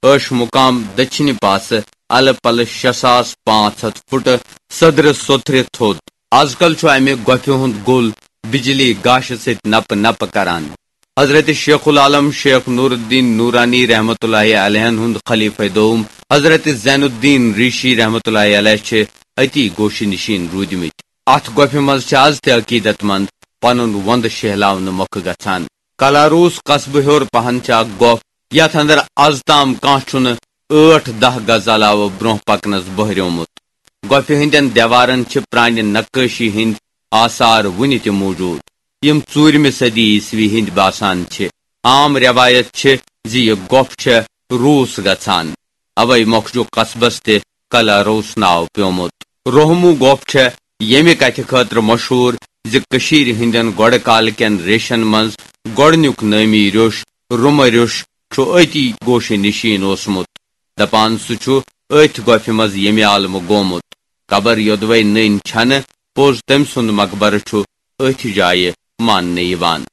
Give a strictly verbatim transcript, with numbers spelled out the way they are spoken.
عٲش مُقام دٔچھِنہِ پاسہٕ الہٕ پلہٕ شےٚ ساس پانٛژھ ہَتھ فُٹہٕ سدرٕ سوٚتھرِ تھوٚد۔ از کل چھُ امہِ گۄپھِ ہُنٛد گوٚل بجلی گاشہِ سۭتۍ نپہٕ نپہٕ کران۔ حضرت شیخ العالم شیخ نور الدین نورانی رحمت اللہ علیہن ہُنٛد خلیفہ دوم حضرت زین الدین ریشی رحمت اللہ علیہ چھِ أتی گوشہِ نشین روٗدمٕتۍ۔ اتھ گۄپھِ منٛز چھِ از تہِ عقیدت مند پنُن وندٕ شیہلاونہٕ مۄکھٕ گژھان۔ کلاروس قصبہٕ ہیوٚر پہن چھِ اکھ گۄپھ، یتھ اندر از تام کانٛہہ چھُنہٕ ٲٹھ دَہ گز علاوٕ برونٛہہ پکنس بہریومُت۔ گۄپھِ ہٕنٛدٮ۪ن دیوارن چھِ پرانہِ نقٲشی ہٕنٛدۍ آثار وُنہِ تہِ موجود، یِم ژوٗرمہِ صدی عیسوی ہٕنٛدۍ باسان چھِ۔ عام رٮ۪وایت چھِ زِ یہِ گۄپھ چھےٚ روٗس گژھان، اوے مۄکھٕ چھُ قصبس تہِ کلاروس ناو پیومُت۔ روہمو گۄپھ چھےٚ ییٚمہِ کتھِ خٲطرٕ مشہوٗر زِ کٔشیٖرِ ہٕنٛدٮ۪ن گۄڈٕ کالہٕ کٮ۪ن ریشن منٛز گۄڈٕنیُک نٲمی ریوٚش رومہٕ ریوٚش چھُ أتی گوشہِ نشین اوسمُت۔ دپان سُہ چھُ أتھۍ گۄپھِ منٛز ییٚمہِ عالمہٕ گومُت۔ قبر یوٚدوے نٔنۍ چھنہٕ، پوٚز تٔمۍ سُنٛد مقبرٕ چھُ أتھۍ جایہِ ماننہٕ یِوان۔